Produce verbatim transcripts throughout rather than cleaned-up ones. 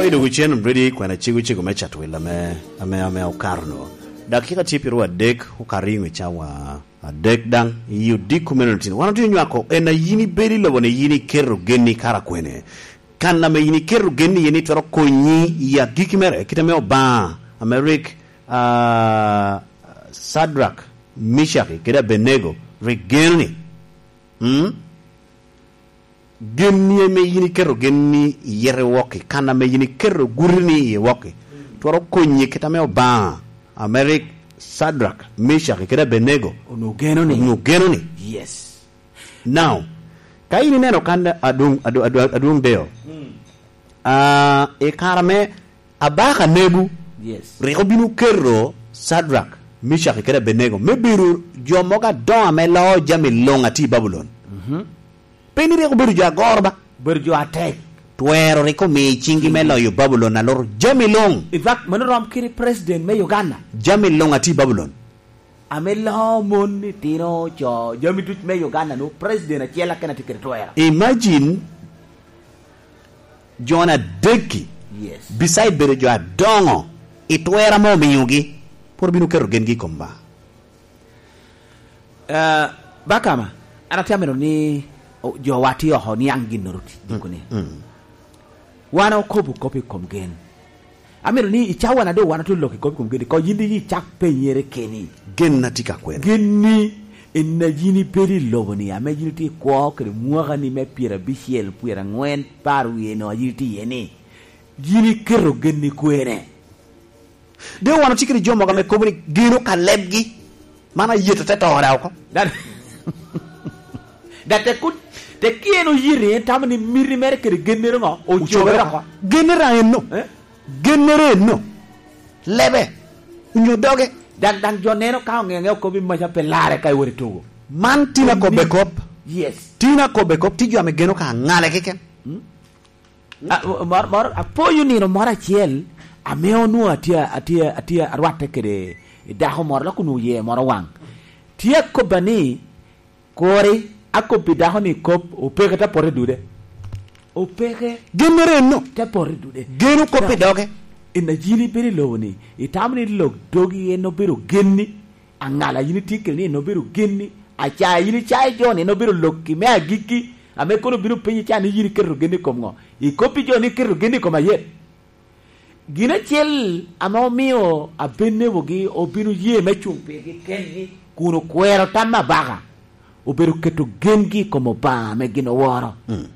Idugu cen ready kwena cego cego me cat wil ame, ame, ame okato no. Dakika tye piro adek okato i ŋe cawa adek daŋ i odiko meno tin. Wan otye nywako en a yin ibedo i lobo ni yin iketo genni kara kwene. Kan ame yin iketo genni iye ni twero konyi i agikki mere, kit ame Obaŋa, ame rik, ah, Sadrak, Micaki, kede Abenego rik geno ni. Mm? Genni ame yin iketo genni i yete wok-ki, kan ame yin iketo gutini i wok-ki, twero konyi kit ame Obaŋa, ame rik Sadrak, Micaki, kede Abenego onwoŋo geno ni. Onwoŋo geno ni. Yes. Now, ka yin ineno kan adwoŋ, adwoŋ, adwoŋ, adwoŋ deyo, mm, ah, i kare ame Abaka Nebo, yes, rik obino keto Sadrak, Micaki kede Abenego me bedo jo mogo adoŋo ame loo jami luŋ a tye i Babulon. Mhm. Pe ni rik obedo jo agoro ba? Obedo jo atek. Twero rik omiyo ciŋgi me loyo Babulon aloro jami luŋ. In fact, mano rom kede president me Uganda. Jami luŋ a tye i Babulon. Ame loo mon, itino, co, jami duc me Uganda, no president acel aken atye kede twero. Imagine, jo adek-ki, yes, beside bedo jo adoŋo i twero ame omiogi, pwod obino keto gengi i kom ba? Eh, Bakama, an atye amito ni, o, jowa tye oko niaŋ ginnoro ti-, mm, dikone. Mm. Wan okobo kop i kom gen. Amito ni i cawa-na doŋ wan otye lok i kop i kom gen, ko yin icak penyere keni. Gen-na tye ka kwene? Gen-ni en a yin ibedo i lobo-ni, ame yin itye i kwo kede mwaka-ni me pyerabicel, pyeraŋwen, par wie-nu a yin itye iye-ni. Yin iketo gen-ni kwene? Doŋ wan otye kede jo mogo ame kobo ni geno ka lebgi. Man ayet te to daŋ oko. Da-, da te kun, te ki en oyiti, en tamo ni miti mere kede gennere ŋo? Ocobere oko. Ocobere oko. Gennere daŋ enno. Eh? Gennere enno. Lebe. Onyo doge. Daŋ, daŋ jo neno ka oŋeŋe okobo i maca pe larre ka iwot i tugo. Man tin akobbe kop. Yes. Tin akobbe kop, tye jo ame geno ka aŋale keken. Mm. A, mor, mor, apoyo nino moro acel, ame onwoŋo atye, atye, atye arwatte kede i dako moro, lok onwoŋo yee moro waŋ. Tye akobba ni, kuri, akobbi dako ni kop, opeke te poto i dude. Opeke. Gennere enno. Te poto i dude. Geno kop i doge. En a yin ibedo i lobo-ni, itamo ni lok dogi en obedo genni? Aŋala yin itye kede ni en obedo genni, acaya yin icayo jo ni en obedo lokki me agikki, ame kono obino penyi ca ni yin iketo genni i kom ŋo? Ikobbi jo ni iketo genni i kom ayet. Gin acel ame omio Abenego-gi obino ye me cuŋ pirgi kengi kun okwero tam abaka, obedo keto gengi i kom Obaŋa ame gin oworo. Mm.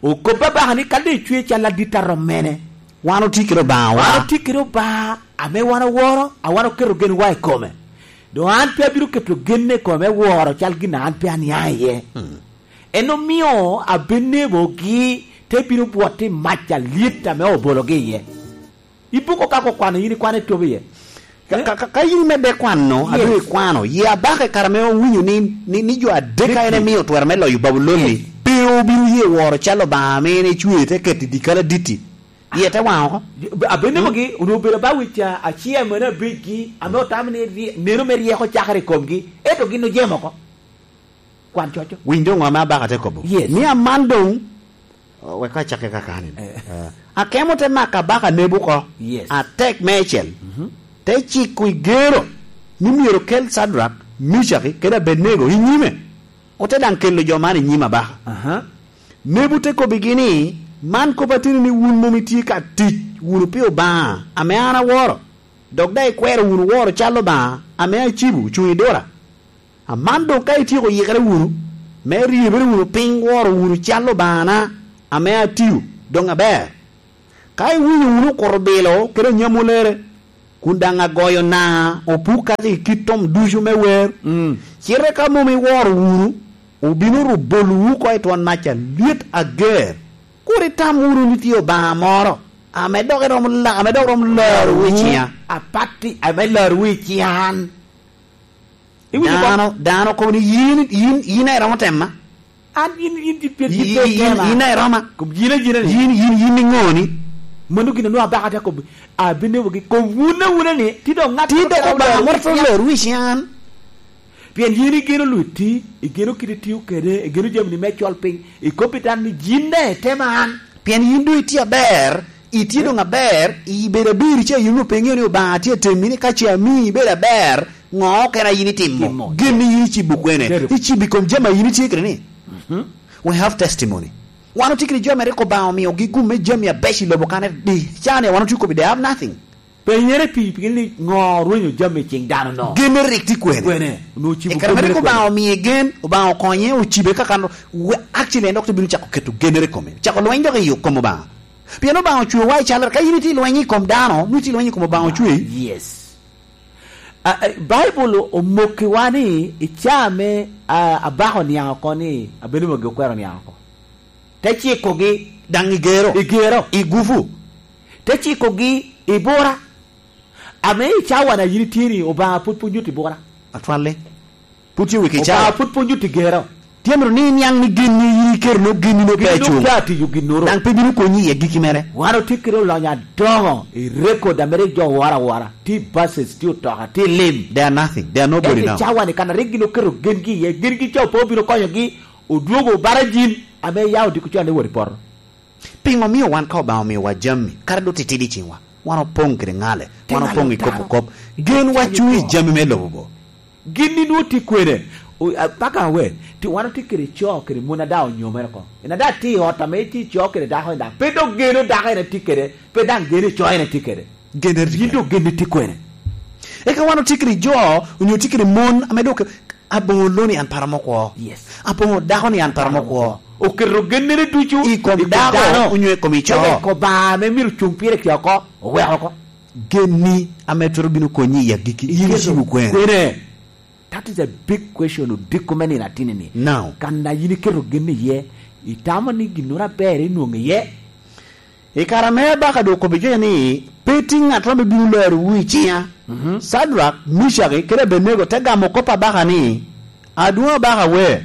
Okobbi abaka ni, "Ka doŋ icwe cal adit arom mene?" Wan otye kede Obaŋawa. Wan otye kede Obaŋa ame wan oworo, a wan oketo genwa i kome. Doŋ an pe abino keto genna i kome me woro cal gin a an pe aniaŋ iye. Mm. En omio Abenego-gi te bino bwot i mac alyet ame obologi iye. Ibuko ka okwano, yin ikwano etop iye. Ka, eh? Ka, ka, ka yin imedde kwano, yes, adwoŋ ikwano, ye abaka i kare ame owinyo ni, ni, ni jo adek a en emio twero me loyo Babulon-ni, yes, pe obino ye woro cal Obaŋa ame en ecweo te keto i dyekal aditti. Iye te waŋ oko. Abenego-gi, mm, onwoŋo obedo ba wic a, acel mene abicgi, ame otamo ni rie-, neno me ryeko cakere i komgi, ento gin ojemo oko. Kwan coco. Winy doŋ ame abaka te kobo. Yes. Ni aman doŋ, wek acakke kakani. Eh. Eh. Akemo te mako abaka Nebo oko. Yes. Atek meicel. Mhm. Te ciko i gero, ni myero kel Cadrak, Micaki, kede Abenego i nyime. Ote daŋ kelo jo man i nyim abaka. Aha. Nebo te kobbigi ni, "Man kop ateni ni wun mom itye ka tic wunu pi Obaŋa ame an aworo, dok daŋ ikwero wunu woro cal Obaŋa ame acibo ocuŋ i dura." Aman doŋ ka ityeko yikere wunu, me ryebere wunu piny woro wunu cal Obaŋana ame atio, doŋ aber. Ka iwinyo wunu okuto bilo kede anyamulere, kun daŋ agoyo naa opuk kacel i kit tom ducu me wer, mm, cite ka mom iworo wunu, obino ru bolowu oko i twon mac alyet ager. Kur itam wunu ni tye Obaŋa moro ame dok iromo la-, ame dok romo larowu i ciŋa. Apatti ame larowu i ciŋa an. Iwinyo kop? Dano, dano kobo ni, "Yin, yin, yin a iromo tema." An, yin, yin, yin, yin, yin, yin a iroma. Kom yin a yin a ni. Yin, yin, yin iŋo ni? Mano gin onwoŋo abaka te kobo. Abenego-gi, kom wun a wun a ni, ti dok ŋat moro dok Obaŋa moro twero lor wic an. Pien yin igeno lutti, igeno kit itio kede, igeno jami ni me col piny, ikobbi dano ni, "Yin daŋ itema an." Pien yin doŋ itye aber, Itye doŋ aber, ibedo abir ca, yin ope iŋeo ni Obaŋa tye atemi ni ka ce amii ibedo aber, ŋo okene a yin itimo? Timo. Gin ni yin icibo kwene? Icebo i kom jami a yin itye kede ni? We have testimony. Wan otye kede jo mere rik Obaŋa omiogi gum me jami abeco i lobo kan di, ca ni wan otye kobbi, they have nothing. Penyere pi, pi ni ŋo orwenyo jami i ciŋ dano no? Genne rik tye kwene? Kwene? Onwoŋo ocibo. I kare mere rik Obaŋa omie gen, Obaŋa okonye, ocibe ka kan, we-, actually en dok te bino cako keto gennere i kome. Cako lweny dok i kom Obaŋa. Pien Obaŋa ocwewa i calere, ka yin itye lweny i kom dano, nwoŋo itye lweny i kom Obaŋa ocwei. Yes. A, a, Baibul omokkiwa ni i caa ame, a, abaka oniaŋ oko ni, abene magi okwero oniaŋ oko. Te cikogi. Daŋ i gero. I gero. I gufu. Te cikogi i bura. Ame i cawa na yin itye ni, Obaŋa pwod pwonyo ti bura. Atwalle. Pwod tye wek i cawa. Obaŋa pwod pwonyo ti gero. Tye mito ni iniaŋ ni gin ni yin iketo no, gin ni no pe acung. Gin ni no pe atiyo ginnoro. Daŋ pe bino konyi i agikki mere. Wan otye kede olonyo adoŋo i record ame rik jo woro awora. Tye buses, tye otoka, tye lim. They are nothing. They are nobody now. Ento i cawa ni kan a rik gin oketo gengi iye, gengi ca pe obino konyogi, odwogo barajin ame ya odiko con ni wot i poto. Piŋo omio wan ka Obaŋa omiowa jami, kara doŋ titidi i ciŋwa, wan opoŋ kede ŋale, wan opoŋ i kop okop, gen wa cuŋ i jami me lobo bo? Gin ni nwoŋo tye kwene? O, a, paka awe, ti wan otye kede co kede mon a daŋ onyomere oko. En a daŋ tye i ot ame tye co kede dako en daŋ, pe dok geno dako en a tye kede, pe daŋ geno co en a tye kede. Gen eri tye kwene? Yin dok gen ni tye kwene? Eka wan otye kede jo, onyo tye kede mon ame dok Aboŋo lo-ni an pe aromo kwo. Yes. Aboŋo dako-ni an pe aromo kwo. Oketo gennere ducu i kom dako onyo i kom ico. Eka i kom Obaŋa ame myero ocuŋ pire tye oko, oweko oko. Genni ame twero bino konyi i agikki, yin icibo kwene? Kwene? That is a big question, odiko me nino atini-ni. Now. Kan a yin iketo genni iye, itamo ni ginnoro aber inwoŋo iye? I kare ame abaka doŋ okobbi kec ni, "Pe tye ŋattoro ame bino lerowu i ciŋa." Mhm. Cadrak, Micak, kede Abenego te gamo kop abaka ni, "Adwoŋ abaka we,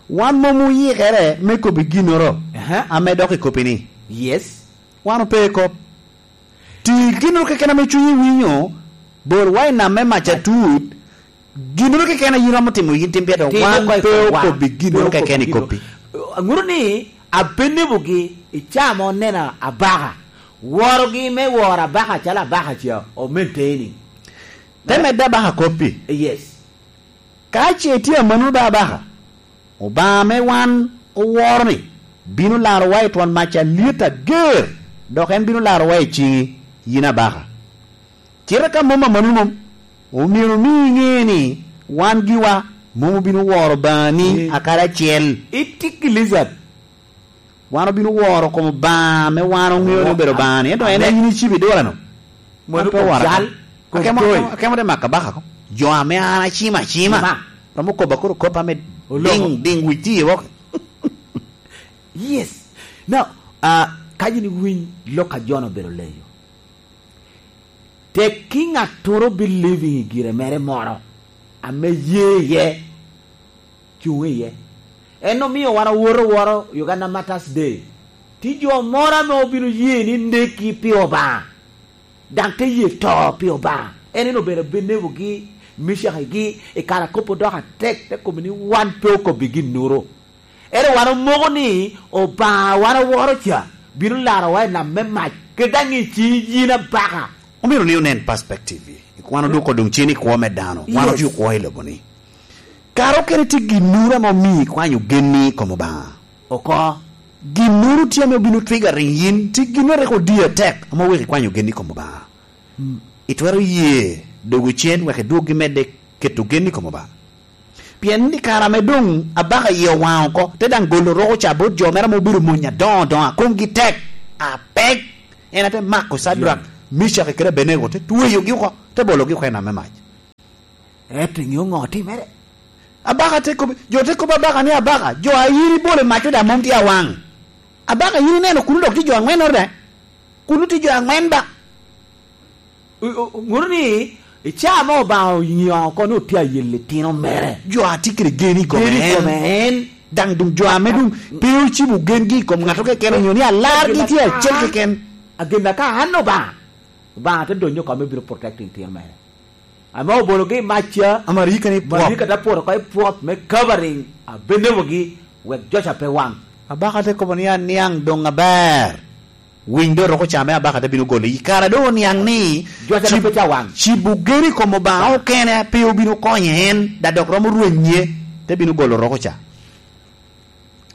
wan mom oyikere me kobbi ginnoro." Aha. Ame dok i kop-pi ni, "Yes." Wan ope i kop. Ti ginnoro keken ame cunyi winyo, bol wa i nam me mac atut, ginnoro keken a yin romo timo, yin tim pire, wan pe okobbi ginnoro keken i kop-pi. Aŋuto ni Abenego-gi i caa ame oneno abaka, worogi me woro abaka calo abaka ca, o maintaining. Te medde abaka kop-pi. Yes. Ka ce tye amannono ba abaka, Obaŋa ame wan oworo-ni bino larowa i twon mac alyet ager, dok en bino larowa i ciŋi, yin abaka. Cite ka mom amannono mom, omyero omi iŋe ni wan giwa mom obino woro Obaŋani akadi acel. Itye ki lizard. Wan obino woro kom Obaŋa ame wan oŋeo ni obedo Obaŋani, ento en aye yin icibo i dwolano. Mano kop cal, kop toy. Akemo, akemo, akemo te mako abaka ko. Jo ame an acimo acima. Romo kobo koro kop ame diŋ, diŋ wic tye wok. Yes. Now, ah, ka yin iwiny lok a Jona obedo leyo, tekki ŋattoro believing i gire mere moro ame ye iye, cuŋ iye. En omio wan owoto woro Uganda Martyrs Day. Tye jo moro ame obino ye ni neki pi Obaŋa, daŋ te ye to pi Obaŋa. En en obedo Abenego-gi, Micak-gi, i kare a kop odoko atek, te kobo ni wan pe okobbi ginnoro. Ento wan omoko ni Obaŋa wan aworo ca bino larowa i nam me mac, kede daŋ i ciŋ yin abaka. Omyero ni onen perspective-i. Wan odoko doŋ cen i kwo me dano. Wan otye okwo i lobo-ni. Kara okene tye ginnoro ame omio ikwanyo genni i kom Obaŋa. Oko. Ginnoro tye ame obino triggering yin, tye ginnoro rik odi atek ame oweko ikwanyo genni i kom Obaŋa. Mm. Itwero ye dogo cen wek idwoggi medde keto genni i kom Obaŋa. Pien i kare ame doŋ abaka iye owaŋ oko, te daŋ golo roko ca bot jo mere ame obedo mony adoŋo adoŋo, a komgi tek, apek, en ate mako Cadrak, Micak kede Abenego, te tweyogi oko, te bologi oko i nam me mac. Ento iŋeo ŋo otimere? Abaka te kobbi, jo te kobbi abaka ni, "Abaka, jo a yin ibolo i mac-cu daŋ mom tye awaŋ. Abaka, yin ineno kuno dok tye jo aŋwennoro daŋ? Kuno tye jo aŋwen ba?" O-, o-, oŋuto ni i caa ame Obaŋa oŋio oko ni otye ayel litino mere. Jo a tye kede gen i kome en. Gen i kome en. Daŋ doŋ jo ame doŋ pe ocibo gengi i kom ŋato keken, onyo ni alargi tye acel keken. Agenda ka an Obaŋa, Obaŋa te donyo oko me bino protecting litino mere. Ame obologi i mac ca, Amarika ni pwop. Amarika te poto oko i pwop me covering Abenego-gi wek jo ca pe waŋ. Abaka te kobo ni, "Aniaŋ doŋ aber." Winy doŋ roko ca me abaka te bino golo. I kare doŋ oniaŋ ni Jo ca cib-, pe ca waŋ. Cibo gen i kom Obaŋa okene pe obino konye en, da dok romo rwenye, te bino golo roko ca.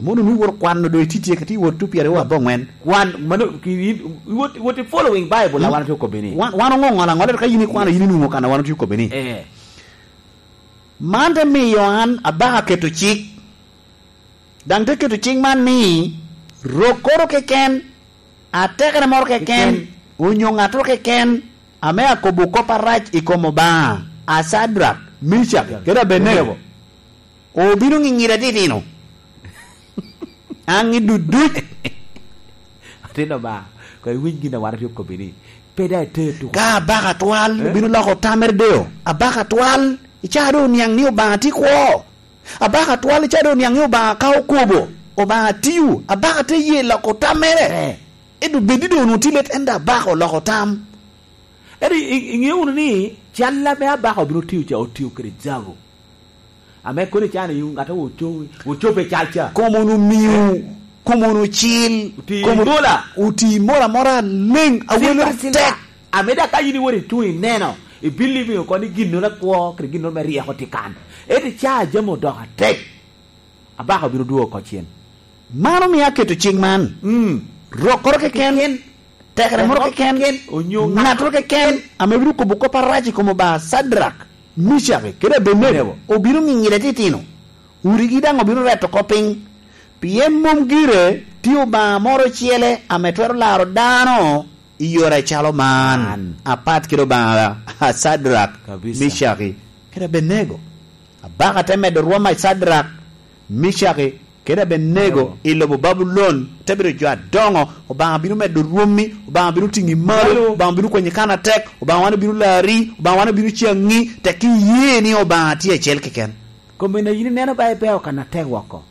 Mono ni wot kwano doŋ ititye ka ti wot two pyeraryo aboŋwen. Kwan, mano, ki, i, i wot, wot i following Bible, a wan otye okobbi ni. Wan, wan oŋo ŋolo aŋola, ka yin ikwano, yin inwoŋo kan a wan otye okobbi ni. Eh. Man te miyo an abaka keto cik. Daŋ te keto cik man ni, rokkoro keken, atekere moro keken, keken, onyo ŋattoro keken, ame akobo kop arac i kom Obaŋa, a Cadrak, Micak, kede Abednego, obino ŋiŋire titino. Aŋi duduc. Atin Obaŋa, koŋ iwiny gin a wan otye okobbi ni, pe daŋ iter tuko. Ka abaka atwal, eh, obino loko tamere deo. Abaka atwal, i caa doŋ oniaŋ ni Obaŋa tye kwo. Abaka atwal, i caa doŋ oniaŋ ni Obaŋa ka okobo, Obaŋa tio, abaka te ye loko tamere. Eh. Ento bed ni doŋ onwoŋo tye let, ento abaka oloko tam. Ento i, i, iŋeo wunu ni cal ame abaka obino tio ca, otio kede jabu. Ame kono icano i ŋat a ocobi, ocobe cal ca. Kom wunu miu, kom wunu cil, oti kom wunu mola. Oti mola mora leŋ, awelo tek. Ame daŋ ka yin iwot icuŋ ineno, ibili miyo oko ni ginnoro akwo, kede ginnoro me ryeko tye kan. Ento icaa jami odoko atek, abaka obino dwogo oko cen. Man omio aketo cik man. Mm. Rokkoro keken, keken, tekere moro keken, keken, onyo ŋattoro keken, ame bino kobo kop arac i kom Obaŋa Cadrak, Micaki, kede Abednego, obino ŋiŋire titino. Udigi daŋ obino reto oko piny. Pien mom gire tye Obaŋa moro ocele ame twero laro dano i yore acalo man, man, apat kede Obaŋa a Cadrak, kabisa, Micaki, kede Abednego. Abaka te medo rwom a Cadrak, Micaki, kede Abednego i lobo Babulon, te bedo jo adoŋo. Obaŋa bino medo rwommi, Obaŋa bino tiŋi malo, malo. Obaŋa bino kwanyi kan atek, Obaŋa wan obino lari, Obaŋa wan obino caŋi, tek iye ni Obaŋa tye acel keken. Kom en a yin ineno ba ibeo kan atek woko.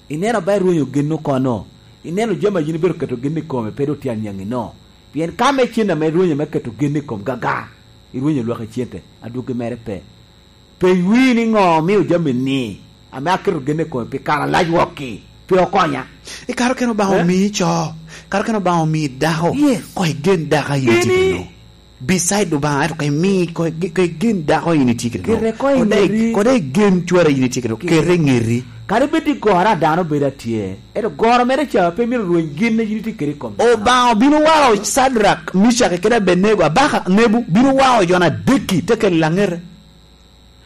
Ineno ba irwenyo gen oko no. Ineno jami a yin ibedo keto gen i kome pe doŋ tye aniaŋi no. Pien ka me cen ame irwenyo me keto gen i kom gaga, irwenyo lwak i cente, adwogi mere pe. Pe iwii ni ŋo omio jami ni, ame aketo gen i kome pi kare alac wok-ki, pe okonya. I kare okene Obaŋa, eh, omii co, kare okene Obaŋa omii dako, yes, koŋ igen dako a yin itye kede-nu. Beside Obaŋa, ento koŋ imi, koŋ ige-, koŋ igen dako a yin itye kede-nu. Kete koŋ i ŋeti. Koŋ dai, koŋ dai igen cwara a yin itye kede-nu. Kete. Kete i ŋeti. Kadi bed ni goro a dano bedo atye, ento goro mere ca pe myero rweny gin a yin itye kede i kom dano. Obaŋa obino wao Cadrak, Micak kede Abednego, abaka Nebo, bino wao jo na dek-ki, te kelo i laŋete.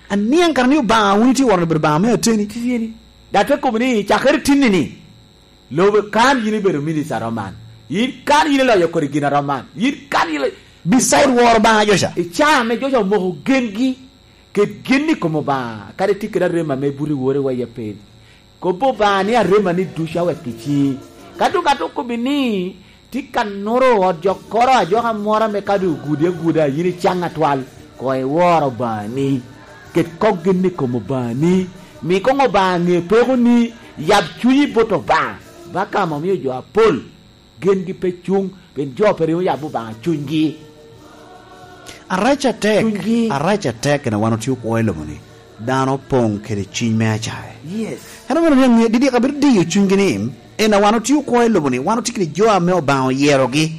Aniaŋ kara ni Obaŋa wun itye woro obedo Obaŋa me ateni. Ateni. Dok te kobo ni, cakere tinni-ni, lobo kan yin ibedo minista roman. Yin kan yin iloyo kodi gin a roman. Yin kan yin ilo-, beside woro Obaŋa jo ca. I caa ame jo ca omoko gengi, ket genni i kom Obaŋa, kadi tye kede arem ame buto i wori wa i apel. Kobo Obaŋa ni aremani ducu awek i ciŋi. Ka doŋ ŋat okobbi ni, tye ka nuro ot jokkoro ajoka moro ame ka doŋ ogudi aguda, yin icaŋ atwal, koŋ iwor Obaŋani. Ket kok gen i kom Obaŋani. Mi koŋ Obaŋa ŋe pekoni, yab cunyi bot Obaŋa. Baka ame omio jo apol gengi pe cuŋ, pien jo pe ringo yabo Obaŋa cunygi. Arac atek, cunygi. Arac atek, en a wan otye okwo i lobo-ni. Dano opoŋ kede cuny me acae. Yes. En omio ni aŋe, didik abedo diyo cunygi ni, en a wan otye okwo i lobo-ni, wan otye kede jo ame Obaŋa oyerogi.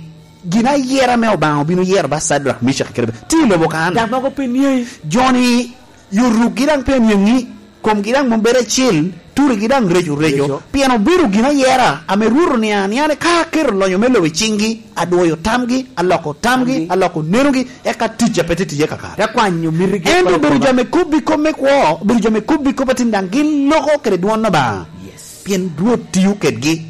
Gin ayera ame Obaŋa obino yero ba Cadrak, Micak kede Abed-, tye i lobo kan. Dok mogo pe niaŋi. Jo-ni, yorukgi daŋ pe aniaŋi. Komgi daŋ mom bedo acel, turigi daŋ reco reco. Reco. Pien obedo gin ayera ame Rwot oniaŋ aniaŋ ni ka aketo lonyo me lobo i ciŋgi, adwoyo tamgi, aloko tamgi, tamgi, aloko nenogi, eka ticca pe tye ticce kakare. Te kwanyo mitigi. Ento obedo jo ame kobbi kop me kwo, obedo jo ame kobbi kop atin daŋ gin loko kede dwon Obaŋa. Yes. Pien Rwot tio kedgi,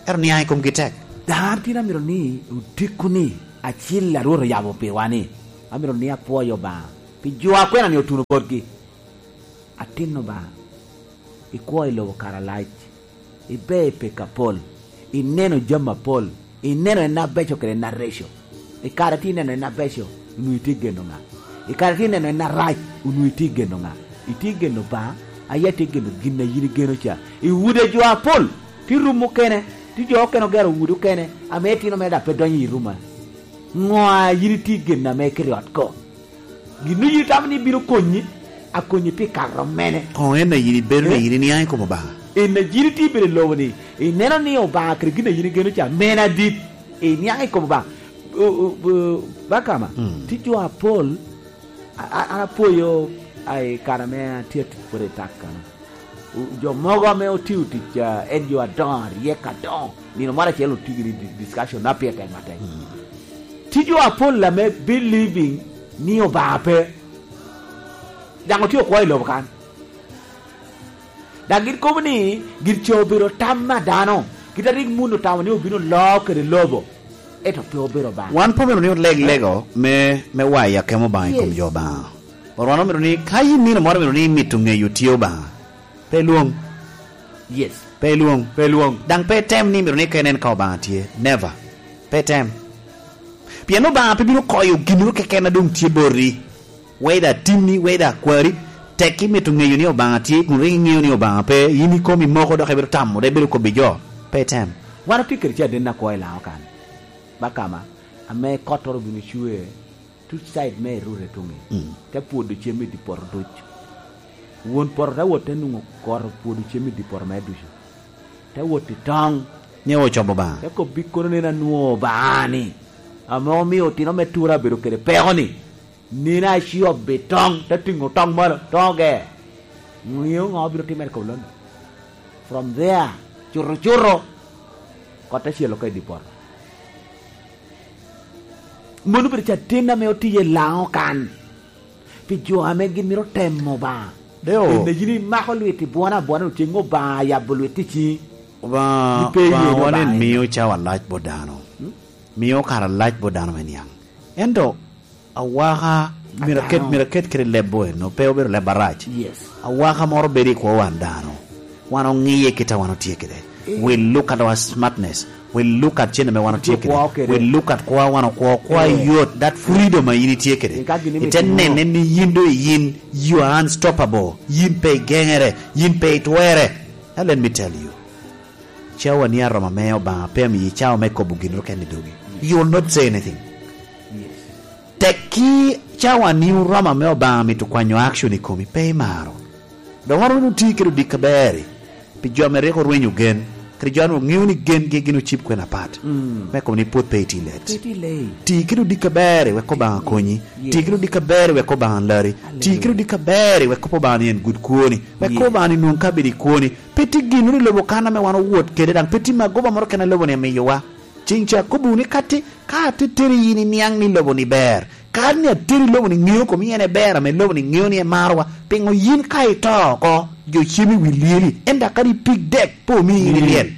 ento niaŋ i komgi tek. Daŋ an tin amito ni otiku-ni acil a Rwot oyabo piwa-ni, amito ni apwoyo Obaŋa pi jo a kwena-ni otuno botgi. Atin Obaŋa, ikwo i lobo kare alac, iber i peko apol, ineno jami apol, ineno en abeco kede en areco. I kare tye ineno en abeco, onwoŋo itye geno ŋa? I kare tye ineno en arac, onwoŋo itye geno ŋa? Itye geno Obaŋa, aye atye geno gin a yin igeno ca. I udi a jo apol, tye rum okene, tye jo okene ogero udi okene, ame itino mere dok pe donyo i rum a. Ŋo a yin itye geno ame ikete i ot ko? Gin yin itamo ni bino konyi, akonyi pi kare mene? Koŋ en a yin ibedo ni, eh, yin iniaŋ i kom Obaŋa. En a yin itye bedo i lobo-ni, ineno ni Obaŋa kede gin a yin igeno ca mene adit. I niaŋ i kom Obaŋa. O, o, o, Bakama, mm, tye jo apol, a, a, an apwoyo, a, i kare ame atye atic pwod i tak kano. O, jo mogo ame otio tic, a, en jo adoŋo, aryek adoŋo, nino moro acel otio gini di-, discussion na pire tek matek. Mm. Tye jo apol ame believing ni Obaŋa pe. Daŋ otye okwo i lobo kan. Daŋ gin kobo ni gin ca obedo tam a dano, kit a rik Mundu otamo ni obino loo kede lobo, ento pe obedo Obaŋa. Wan pe omito ni oleg lego me, me wayo akemo Obaŋa i kom, yes, jo Obaŋa. But wan omito ni ka yin nino moro omito ni imito ŋeyo tye Obaŋa, pe ilwoŋ. Yes. Pe ilwoŋ. Pe ilwoŋ. Daŋ pe item ni imito ni ka inen ka Obaŋa tye. Never. Pe item. Pien Obaŋa pe bino koyo ginnoro keken a doŋ tye boti. Weda atinni, weda akwari, tek imito ŋeyo ni Obaŋa tye, kun rik iŋeo ni Obaŋa pe, yin ikomi moko dok ibito tamo, dok ibito kobbi jo, pe item. Wan otye kede caden akwo i Laŋo kan, Bakama, ame kottoro obino cwe, tut side me Erute tuŋi, mm, te pwodo cem i dye poto ducu. Won poto te wot te nwoŋo kot opwodo cem i dye poto mere ducu. Te wot i toŋ. Ni ocobo Obaŋa. Te kobbi kono, nen anwoŋo Obaŋa-ni, ame omio otino me Tura abedo kede peko-ni. Nino aciob i toŋ, te tiŋo toŋ malo, toŋ oger. Ŋeo ŋo bino timere i kom lon-ni? From there, cuto cuto, kot te cel oko i dye poto. Mano obedo caden ame otiye i Laŋo kan, pi jo ame gin mito temo Obaŋa. Deo. Pien yin imako lwit i bwona abwona, ceŋ Obaŋa yabo lwit i ciŋi. Obaŋa, ni pe Obaŋa yen wan en Obaŋa en mio cawa lac bot dano. Hmm? Mio kare alac bot dano me niaŋ. Ento awaka, myero aket, myero aket kede leb bo eno, pe obedo leb arac. Yes. Awaka moro bedo i kwo wan dano. Wan oŋiye kit a wan otye kede. Eh. We look at our smartness. We look at cen ame wan otye kede. Kwo kede. We look at kwo wan okwo, kwo, eh, yot, that freedom a yin itye kede. Eh, ka gin ite nene ni yin do yin, you are unstoppable. Yin pe igeŋere, yin pe itwere. Now let me tell you. Cawani aromo ame Obaŋa pe amiyi cawa me kobo ginnoro kene i dogi. You will not say anything. Yes. Tekki cawani oromo ame Obaŋa mito kwanyo action i komi, pe imaro. Dok wan wunu ti kede odikki aber-ri, pi jo ame rik orwenyo gen, kede jo ame oŋeo ni gengi gin ocib kwena apat. Mm. Me kobo ni pwod pe iti let. Pe iti let. Ti kede odikki aber-ri wek Obaŋa konyi. Yes. Ti kede odikki aber-ri wek Obaŋa lari. Hallelujah. Ti kede odikki aber-ri wek kobo Obaŋa ni en gud kwoni. Wek, yes, kobo Obaŋa ni nwoŋ ka bedo i kwoni. Pe tye ginnoro i lobo kan ame wan owot kede, daŋ pe tye magoba moro kene a lobo-ni amiyowa. Ceŋ ca akobbiwu ni katti, ka ateteri yin iniaŋ ni lobo-ni ber, ka an ni ateri lobo-ni ŋeo komi en eber ame lobo-ni ŋeo ni emarowa, piŋo yin ka ito oko, jo cem i wi lyeli, ento kadi pig dek pe omii yin ilyel?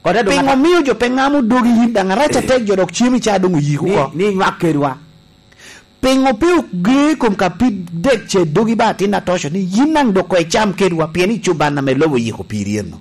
Kodi adwoŋ. Piŋo ata- omio jo pe ŋamo dogi yin daŋ arac atek jo dok cem i ca doŋ oyik oko? Ni, ni inywak kedwa. Piŋo pe oge i kom ka pig dek ce dogi ba atin atoco ni yin daŋ dok koŋ icam kedwa, pien icuban ame lobo oyiko piri eno?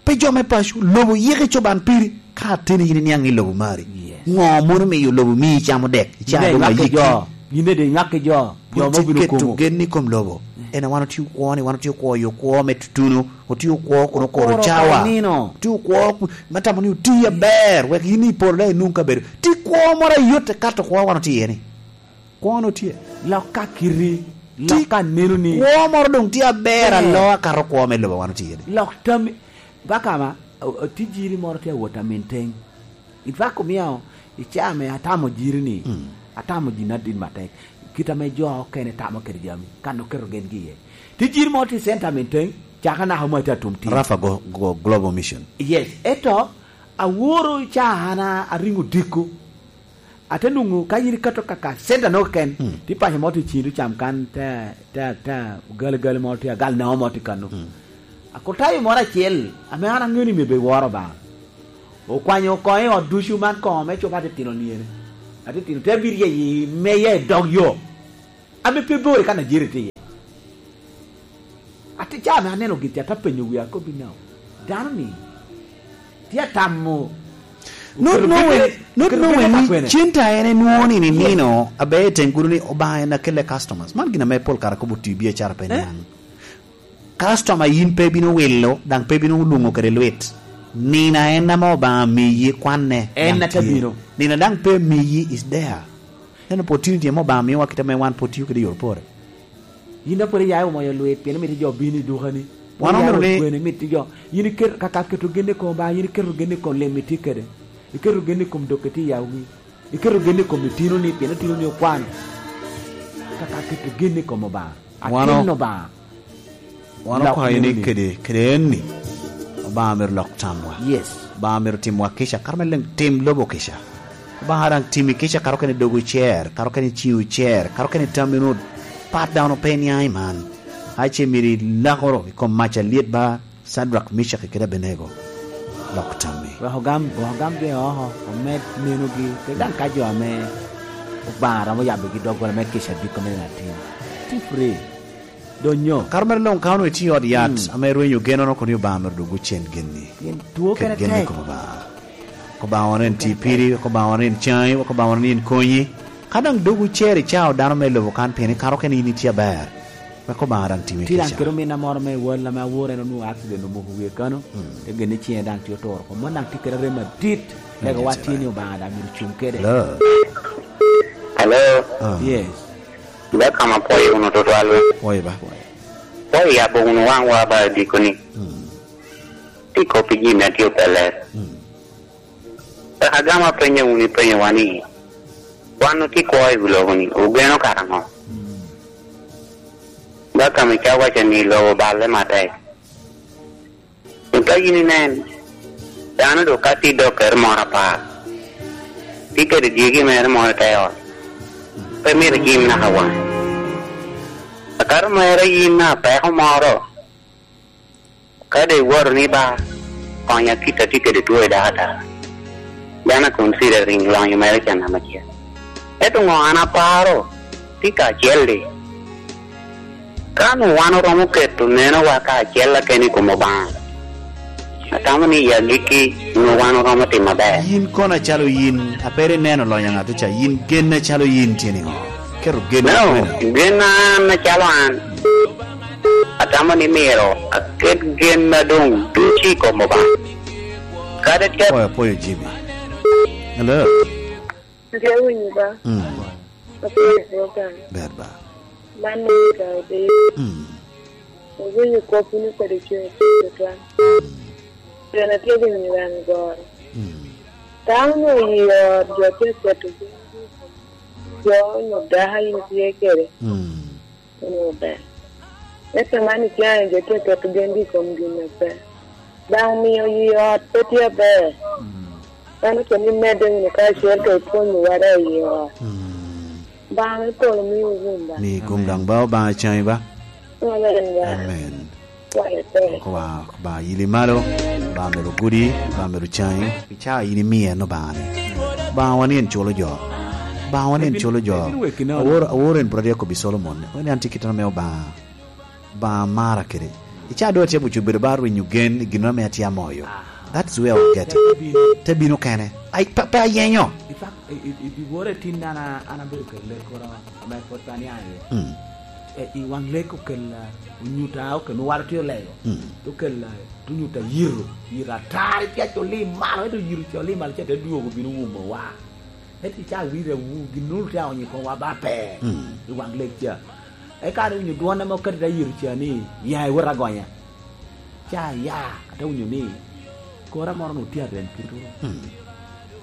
Pe jo me paco, lobo yiko ecoban piri, ka ateni yin iniaŋ i lobo mari. Yes. Ŋo mono miyo lobo mii icamo dek, icaa doŋ ayiki? Yin daŋ inywak ki jo, yin daŋ inywak ki jo, jo me obino komo. Pwod tye keto gen i kom lobo. En a wan otye okwo ni, wan otye okwo i okwo me tutuno, otye okwo kun okoro cawa. Otye okwo kun, me tamo ni oti aber, wek yin i polo daŋ inwoŋ kabedo. Ti kwo moro ayot ekato kwo a wan otye iye ni. Kwo-nu tye. Lok ka kiti, lok ka neno ni kwo moro doŋ tye aber, eh, alo akato kwo me lobo wan otye ni. Lok tammi, Bakama, o-, o-, tijiri moro tye awot a minteŋ. In fact, omio i caa ame atamo jiri ni, mm, atamo gin adit matek. Kit ame jo okene tamo kede jami, kan oketo gengi iye. Tijiri moro tye i center minteŋ, caka naka mo atye atum tir. Rafa go, go Global Mission. Yes, eto aworo caa an a-, ariŋo diko. Ate nwoŋo ka yin ikato kaka center-no keken, mm, tye paco mo tye i ciŋi, tye cam kan, te, te, te, gali, gali mo tye, agal naŋo mo tye kano. Mm. Akotayo moro acel, ame an aŋeo ni myero bed woro Obaŋa. Okwanyo koŋ i ot ducu man koŋ me cobo atitino niene. Atitino te bino ryeye i meya i dog yo. Ame pe bor i kan a Jerry tye iye. Ate ca ame aneno gin ca, te apenyo wia, akobbi ni, "Dano-ni tye atamo." Not knowing, not knowing ni cen ta en enwoŋo ni, yes, nino aber i teŋ gudo ni Obaŋa en akelle customers. Man gin ame pol kare akobo oti i biacara pe, eh, niaŋ. Customer yin pe bino wilo, daŋ pe bino luŋo kede lwit. Nino en ame Obaŋa miyi, kwanne, en daŋ ate tye. Bino. Nino daŋ pe miyi is there. En opportunity ame Obaŋa miyowa kit ame wan pwod tio kede i yor pore. Yin dok pwod iya i omoyo lwit, pien imito jo bino i dukani. Wan omito ni kwene, imito jo, yin iketo, kaka keto gen i kom Obaŋa, yin iketo gen i kom lim itye kede. Iketo gen i kom dokke tye i yawu-wi. Iketo gen i kom itinoni, pien itinoni okwano. Kaka keto gen i kom Obaŋa. Wano, Atin Obaŋa. Wano okwayo ni kede, kede enni, Obaŋa myero lok tamwa. Yes. Obaŋa myero timwa kica, kato me leŋ tim lobo kica. Obaŋa daŋ timi kica, kato kene dogo cer, kato kene ciwo cer, kato kene tammi onut pat daŋ pe niaŋ i man. Ace myero ilakoro i kom mac alyet ba Cadrak, Micak kede Abenego. Lok tammi. Wek ogam, wek ogam jo oko, omed nenogi, kede daŋ ka jo ame Obaŋa romo yabogi doggola me kica diko me nino atin. Ti free. Donyo. Kara mere luŋ ka onwoŋo itye i ot yat, mm, ame irwenyo genono, kono Obaŋa mere dog ocen genni. Pien two kene tek. Kede gen i kom Obaŋa. Wek Obaŋa wan en ti piri, wek Obaŋa wan en caŋi, wek Obaŋa wan en konyi. Ka daŋ dog ocer i cao dano me lobo kan, pien ikaro kene in itye aber. Wek Obaŋa daŋ timi kica. Tye daŋ kede ominna moro me wal ame awor, en onwoŋo accident omoko wie kano, mm, te genne ciŋe daŋ tye oturo oko. Mon daŋ tye kede rem adit, lega wa tye ni Obaŋa daŋ myero cuŋ kede. Hello. Hello. Ah. Yes. Welcome, apwoyo wunu tutwal. Pwoyo ba. Pwoyo, yabo wunu waŋwa ba dikoni. Mm. Ti kop i jami a tye opeler. Mm. Pek agamo apenyo wunu ipenyowa ni, wan otye kwo i wi lobo ni, ogeno kara ŋo? Mm. Ba ka me ca waco ni lobo balle matek. Ka yin inen, dano dok ka tye dok kere moro apar, tye kede dyegi mere moro i te ot, pe myero ijim naka waŋ. Akato mere yin na peko moro, ka dok iwato ni ba, konya kit a tye kede two i dako atara, dano a considering lonyo mere can namba acel. Ento ŋo an aparo, tye kacel-li. Ka onwoŋo wan oromo keto nenowa kacel keken i kom Obaŋa, atamo ni i agikki onwoŋo wan oromo timo aber. Yin kono acalo yin, a pe ri neno lonyo a ŋato ca, yin gen acalo yin tye niŋo? Keto gen. No, gen an acalo an, atamo ni myero aket gen a doŋ ducu i kom Obaŋa. Kadi tye. Apwoyo, apwoyo Jimmy. Hello. Atye winyo ba. Mm. Apwoyo program. Ber ba. Man ni ka odiro. Mm. Owinyo kop wunu kede cuny tutwal. Mm. Pien atye winyo wan goro. Mm. Dano onwoŋo i ot, jo tye ka keto gen i kom jo onyo dako a in itye kede. Mm. Onwoŋo ber. Ento man icaŋ jo tye ka keto gengi i kom gin a pe. Daŋ omio i ot pe tye aber. Mm. Mano kono imedde wunu kacel ka ipwonyo wada i ot. Mm. Obaŋa me polo miwu gum ba. Mi gum daŋ ba, Obaŋa caŋi ba. Amen ba. Amen. Kwayo tek. Obaŋa, Obaŋa yili malo, Obaŋa medo gudi, Obaŋa medo caŋi. Pi ca yin imio en Obaŋa ni. Obaŋa wan en culo jo. Obaŋa wan en culo jo. Awor, awor en pwod atye akobbi Solomon. Wan en tye kite ame Obaŋa. Obaŋa mara kede. I ca doŋ atye buco bedo ba rwinyo gen i gin ame atye amoyo. Aha. That's where I get it. Te bino. Te bino kene. Ai, pe, pe ayenyo. In fact, i, i, i, i wora i tin an a-, an abedo kede lek koro ame pwod pe aniaŋ iye. Mm. E, i waŋ lek okel, ah, onyuta okel me waro tye olego. Mm. Te okel, ah, te onyuta yito, yito atar, ipya coli malo, ento yito coli malo ca te dwogo bino wumo wa. Ento i ca awira wu, gin nunu te aonyo i komwa ba pe. Mm. I waŋ lek ca. Eka an awinyo dwon ame okati te yito ca ni, "Ya iwot agonya." Ca aya, ate winyo ni, kora moro onwoŋo tye arem kite. Mm.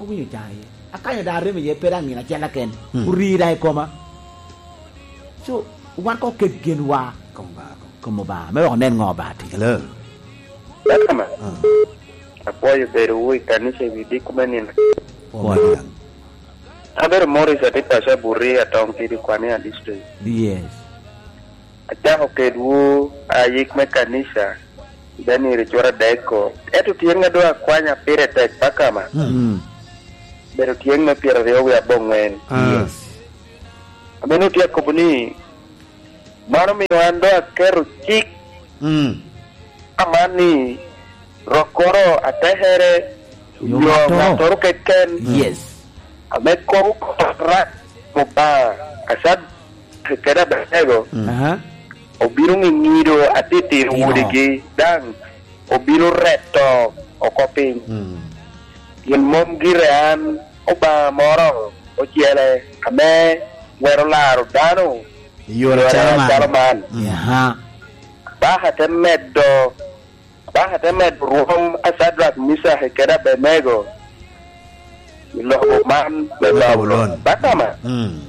Awinyo ca iye. Akanyo daŋ arem iye, pe daŋ nino acel keken. Mm. Orii daŋ i koma. So, wan koŋ oket genwa kom Obaŋa, kom Obaŋa, me wek onen ŋo Obaŋa tye. Hello. Akama. Ah. Apwoyo bedowu i kanica i wi diko me nino. Pwoyo daŋ. Abedo Morris, atye paco Abuti, Atong Kidi, Kwania District. Yes. Acako kedwu ayik me kanica i Daniel cura adek-ko. Ento tyeŋ a doŋ akwanya pire tek, Akama. Mm. Bedo tyeŋ me pyeraryo wie aboŋwen. Ah. Yes. Ameno tye akobo ni, mano omio an doŋ aketo cik, mm, aman ni, rokkoro atekere, yo, yo ŋattoro, ŋattoro keken, yes, ame kobo kop arac, Obaŋa, Acadia kede Abednego, mm, aha, obino ŋiŋido atitino, ino, wodigi, daŋ obino reto oko piny. Mm. Pien mom gire an Obaŋa moro ocele ame twero laro dano i yore acalo man. Acalo man. Mm. Aha. Abaka te medo, Abaka te medo rwom a Cadrak, Micak kede Abednego i lobo man me Babulon. Babulon. Bakama. Mm.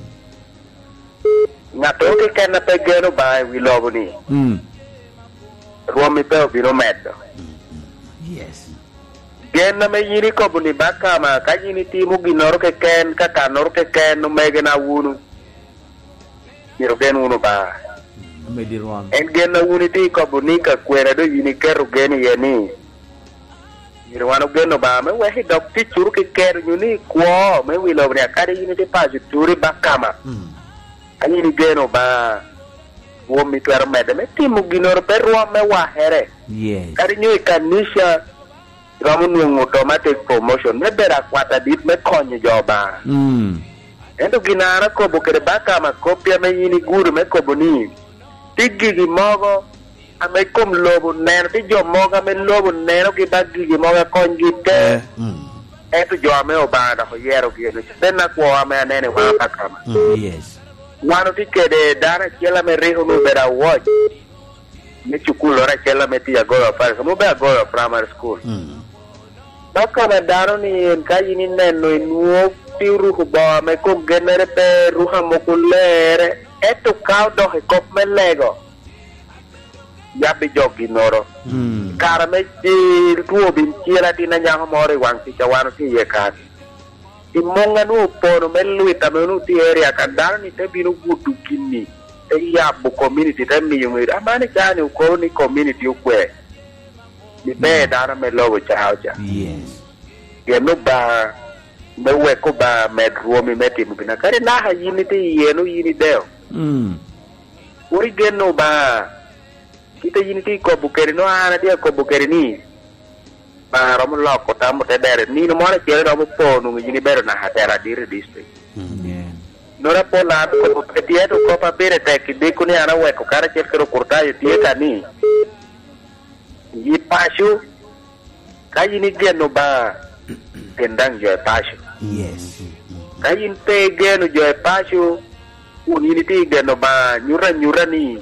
Ŋattoro keken a pe geno Obaŋa i wi lobo-ni, Mm. rwom-mi pe obino medo. Yes. Gen ame yin ikobo ni, Bakama, ka yin itimo ginnoro keken, ka kannoro keken, omegena wunu, myero gen wunu Obaŋa. Amedi rwom. En gen a wun itye ikobo ni ka kwena doŋ yin iketo gen iye ni, myero wan ogen Obaŋa me wek i dog ticwu keken, onyo ni i kwo me wi lobo-ni, kadi yin itye paco turi Bakama. Mm. Ka yin igeno Obaŋa, rwom itwero medde me timo ginnoro, pe rwom me wakere. Yes. Kadi nyo i kanica, iromo nwoŋo automatic promotion me bedo akwat adit me konyo jo Obaŋa. Mm. Ento gin a an akobo kede Bakama, koppi ame yin igudo me kobo ni, tye gigi mogo ame kom lobo neno, tye jo mogo ame lobo nenogi ba gigi mogo akonygi te. Eh, mm. Ento jo ame Obaŋa dok oyerogi, en oc-, en akwo ame aneno i waŋa Bakama. Mm. Yes. Wan otye kede dano acel ame rik onwoŋo obedo awoc me cukulloro acel ame tye Agoyo Parish, ame obedo Agoyo Primary School. Mm. Dok ka ame dano ni en, ka yin ineno, inwoŋo pe oruko bongo ame kom gennere pe, ruko amoko lerre, ento ka odok i kop me lego, yabbi jo ginnoro. Mm. Kare me cil, two bin cil atin anyako moro i waŋ tic a wan otye iye kan. I muŋ a nwoŋo opono me lwit ame onwoŋo tye i area kan, dano-ni te bino gudo gin-ni, te yabo community, te miyo ŋeo. Aman i caa-ni okobo ni community okwe, ni pe Mm. dano ame lobo ca oca. Yes. Pien Obaŋa, me wek Obaŋa med rwomi me timo gin. Kadi naka yin itye iye, nwoŋo yin ideo. Mm. Kur igen Obaŋa, kite yin itye ikobo kede, nwoŋo an atye akobo kede ni, Obaŋa romo loko tam ote dere. Nino moro acel romo po, nwoŋo yin ibedo naka tera adit i district. Amen. Nora pol an okobo kede tye, ento kop a pire tek i diko ni an aweko karacel kede okurtayo tye ka ni, i paco, ka yin igeno Obaŋa, gin daŋ jo i paco. Yes. Ka yin pe igeno jo i paco, kun yin itye igeno Obaŋa, nyuto anyuta ni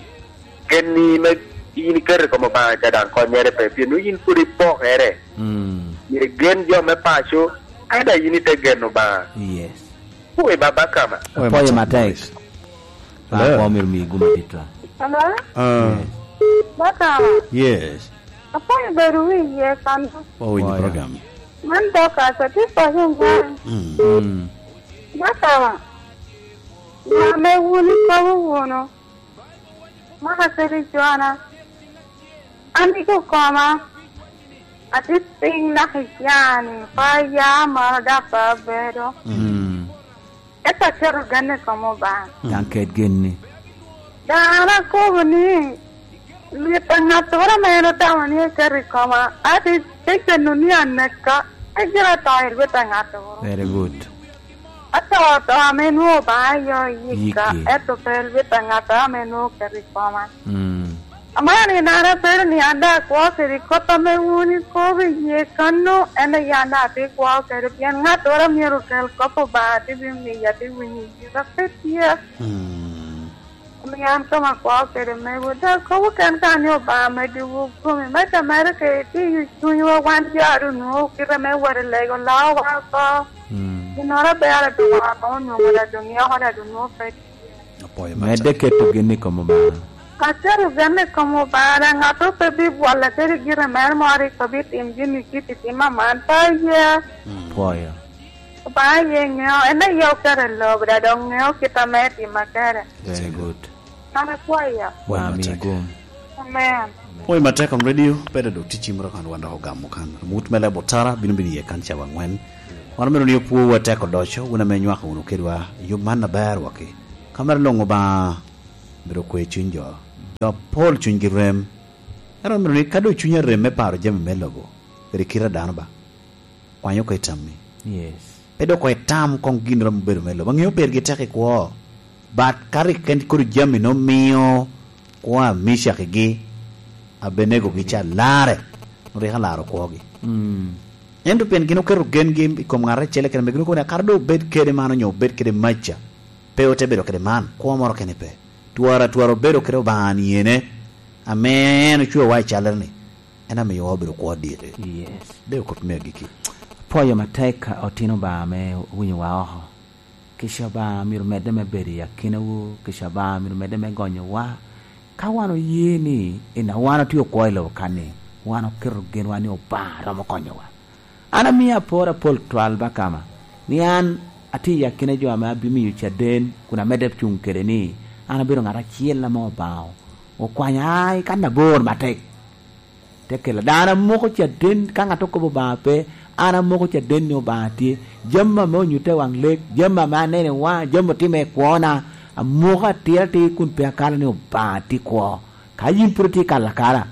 gen-ni me yin iketo i kom Obaŋa ca daŋ konnyere pe, pien nwoŋo yin pwod ipokere. Mm. Myero igen jo me paco, ka daŋ yin ite geno Obaŋa. Yes. Kuwe baba kama. Apwoyo matek. Hello. Ba, omyero mi gum adit la. Hello? Ah. Yes. Bakama. Yes. Apwoyo bedo wi iye kan. Oh, in the Apwoyo. Program. Man Dorcas, atye paco nyan. Mm. Mm. Bakama. Ŋa ame wun ikobo wunu? Maka kede Jona. An iko koma. Atye piny naka i caa-ni, pe aya malo dok pe abedo. Mm. Eka aketo gen i kom Obaŋa. Daŋ ket gen-ni. Daŋ an akobo ni, lwit a ŋattoro ame en otamo ni eketo i koma, ate te geno ni aneka, pe gira to i lwit a ŋattoro. Very good. Ato to ame nwoŋo Obaŋa yo yika, Yiki. Ento pe lwit a ŋattoro ame nwoŋo oketo i koma. Mm. Amaro ni an abedo ni an daŋ akwo kede kop ame wun ikobo iye kano, en aye an daŋ atye kwo kede, pien ŋattoro myero okel kop Obaŋa, te bimiya, te winyo yika pe tye. Mm. Omio an koma akwo kede mewu, daŋ kobo ken ka ni Obaŋa meddiwu gumi, me te mere kede tiyo cunywa wan jo a doŋ nwoŋo kite me wot i lego lawowa oko. Mm. Ginnoro aber a doŋ oko onwoŋo daŋ doŋ yoko daŋ doŋ nwoŋo pe tye. Apwoyo Medde keto gen i kom Obaŋa. Aketo gen i kom Obaŋa, daŋ ŋattoro pe bibwola kede gire mere moro rik obitim gini kit i tim aman, pe aye. Mm. Pwoyo. Obaŋa aye ŋeo, en aye oketo i lobo, daŋ doŋ ŋeo kit ame etimo kede. Very good. An apwoyo. Pwoyo Wami matek. Gum. Amen. Pwoyo matek on radio, pede do ticci moro kan wan dok ogamo kan. Mut me lebo tara bino bino iye kan cawa angwen. Wan omito ni opwowu atek odoco, wun ame nywako wunu kedwa, yub man aber waki. Ka mere luŋ Obaŋa myero okwe cuny jo. Jo apol cunygi rem. Ento myero ni ka doŋ cuny arem me paro jami me lobo, kede kite a dano ba, kwany oko i tammi. Yes. Pe dok koŋ itam koŋ gin romo bedo me lobo. Aŋeo pergi tek i kwo. But ka rik en kodi jami nongo mio kwo a Micak igi, Abenego gi ca larre, nongo rik alaro kwogi. Mm. Ento pien gin oketo gengi i kom ŋat acel keken, ame gin okobo ni, "Kara doŋ obed kede man onyo obed kede maca, pe ote bedo kede man, kwo moro kene pe." Twara, twara obedo kede Obaŋa niyene, ame en ocwewa i callere-ni, en amiyowa obedo kwo aditi. Yes. De okop me agikki. Pwoyo matek otino Obaŋa ame owinyowa oko. Kica Obaŋa myero medde me bedo i akinawu, kica Obaŋa myero medde me gonyowa. Ka wan oye ni en a wan otye okwo i lobo kan-ni, wan oketo genwa ni Obaŋa romo konyowa. An amio apor apol twal Bakama, ni an atye i akina jo ame abimiyo caden kun amedde cuŋ kede ni an abedo ŋat acel ame Obaŋa okwanya i kan abor matek. Te kela dano amoko caden, ka ŋat okobo Obaŋa pe, an amoko caden ni Obaŋa tye. Jami ame onyutta i waŋ lek, jami ame aneno i waŋa, jami otime i kwona, amoko atir atir kun pe akalo ni Obaŋa tye kwo. Ka yin pwod itye kalo akala,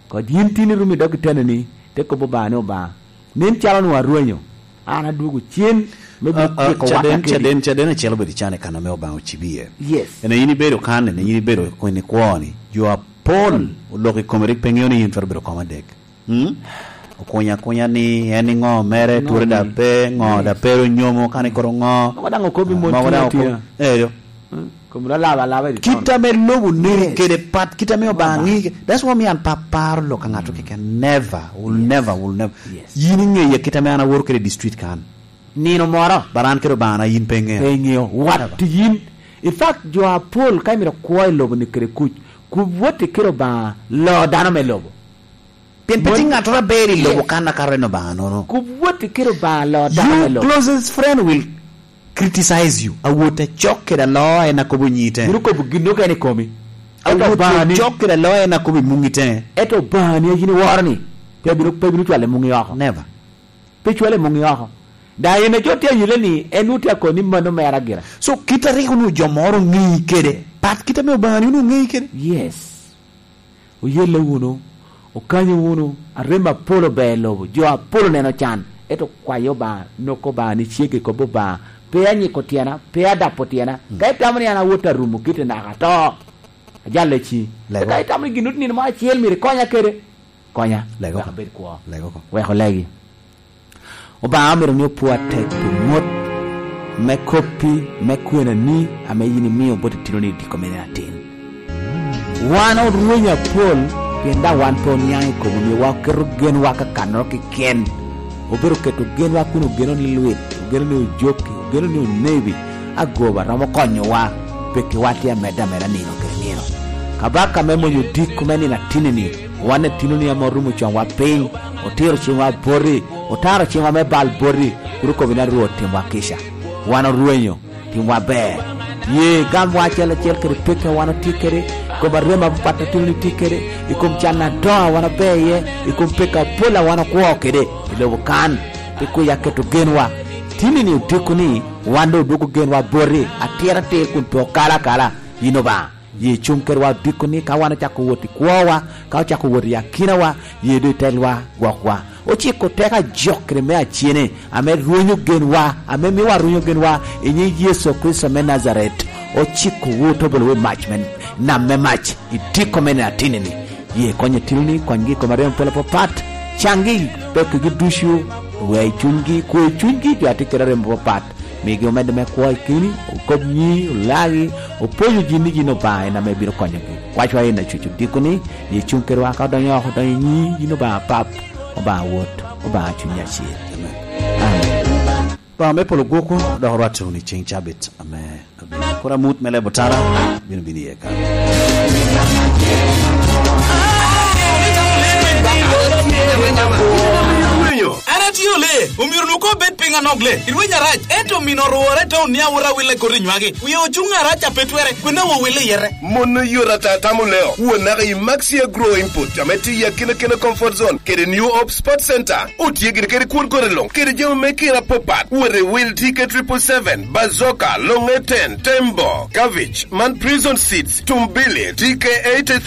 kod yin tin irumo i dog itenoni, te kobo Obaŋa ni, "Obaŋa, nen calo onwoŋo arwenyo, an adwogo cen me bino Ah, ah, tyeko wat caden, akedi." Caden, caden acel obedo i can i kan ame Obaŋa ocibo iye. Yes. Ene yin ibedo kan, ene yin ibedo kwene kwo-ni. Jo apol oloko i kome, rik pe ŋeo ni yin twero bedo kom adek. Hmm? Okunya akunya ni en iŋo mere, Ŋo twere da ni? Pe, ŋo Yes. da pe ro nyomo, kan ikoro ŋo? Mogo daŋ okobi mon Mogo tye daŋ atina. Okobi, eyo. Hmm? Kom ro laba laba i Kit ame lobo neni Yes. kede pat, kit ame Obaŋa Obaŋa. Ŋi ke-, that's why me an pe aparo lok a ŋato keken. Never, will Yes. never, will never. Yes. Yin iŋeya kit ame an aworo kede district kan. Nino moro. But an kede Obaŋa na yin pe iŋeo. Pe iŋeo. What Never. Yin? In fact, jo apol ka imito kwo i lobo ni kede kuc, kub wot i kede Obaŋa lo dano me lobo. Pien pe Mon- tye ŋattoro aber i lobo Yes. kan akato en Obaŋa nono. Kub wot i kede Obaŋa lo dano me Your lobo. Closest friend will criticize you. Awot acok kede alo en akobo nyi te. Bino kobo gin okene i komi. Ento Awot Obaŋa ni acok kede alo en akobo i muŋi te. Ento Obaŋa ni a yin iworo ni, pe bino, pe bino cwalo i muŋi oko. Never. Pe cwalo i muŋi oko. Da en a jo tye ayele ni, en nwoŋo tye akoni mano mere agira. So, kit a rik onwoŋo jo moro oŋeyi kede, pat kit ame Obaŋa ni onwoŋo oŋeyi kede. Yes. Oyelle wunu, okanyo wunu, arem apol ober i lobo, jo apol oneno can, ento kwayo Obaŋa, noko Obaŋa ni cege kop Obaŋa, pe anyiko tyena, pe adapo tyena. Mm. Ka itamo ni an awot arumo kite naka ato, ajalla ci. Lego. Ka itamo ni gin oti nino mo acel myero ikonya kede, konya. Lego. Wek abed kwo. Lego ko. Wek olegi. Obaŋa omito ni opwo atek pi mot me koppi, me kwenani ame yin imio bot itinoni i diko mene atin. Wan orwenyo apol, pien daŋ wan pe oniaŋ i kom omiowa oketo genwa kakannoro keken. Obedo keto genwa kun ogeno ni lwit, ogeno ni ojoki, ogeno ni onebi, agoba romo konyowa, pekkiwa tye amedde ameda nino kede nino. Kabaka me monyo diko me nino atinni-ni, wan etinoni ame orumo coŋwa piny, otiro ciŋwa boti, otaro ciŋwa me bal boti, kun okobo ni, "Rwot, timwa kica." Wan orwenyo, timwa ber. Ye gamwa acel acel kede pekki a wan otye kede, i kom arem apapat a tinoni tye kede, i kom can adoŋo a wan ober iye, i kom pekki apol a wan okwo kede i lobo kan, pi kwica keto genwa. Tinni-ni odiko ni, wan doŋ odwoko genwa boti, atir atir kun pe okalo akala, yin Obaŋa. Ye cuŋ kedwa odiko ni ka wan ocako wot i kwowa, ka ocako wot i akinawa, ye doŋ itelwa gwokwa. Ociko teko ajok kede me acene, ame rwenyo genwa, ame miowa rwenyo genwa, i nyiŋ Yecu Kricito me Najaret. Ociko wu otobolo wi mac me nam me mac, i diko me nino atinni-ni. Ye kony etinoni, konygi i kom arem pol apapat, caŋgi pekki ducu, we i cunygi, kwo i cunygi, jo a tye kede arem apapat. Migi omedde me kwo i keni, okob nyi, olagi, opwonyo ji ni yin Obaŋa en ame bino konyogi. Kwacwa en acuc odiko ni, ye cuŋ kedwa ka odonyo oko, odonyo i nyi yin Obaŋa Pap, Obaŋa Wod, Obaŋa Cuny Acil. Amen. Amen. Obaŋa me polo gwokwu dok orwatte wunu i ceŋ cabit ame abino. Kor amut me lebo tara bino bino iye kan. An atye ole, omyero nu ko bed piny anok le. Irweny arac, ento mino orwore taun ni awot awille koti nywagi. Wie ocuŋ arac a pe twere, kwena wo wille yete. Mon oyot ata tamo leo. Won naka i Maxi Agro Input, ame tye i akina kena Comfort Zone, kede New Hope Sports Center. Otye gire kede kwon kore luŋ, kede jami me kira apapat. Wot i wil T K triple seven, Bazooka, Long A ten, Tembo, Cabbage, man Prison Seeds, Tumbili, T K eighty-three,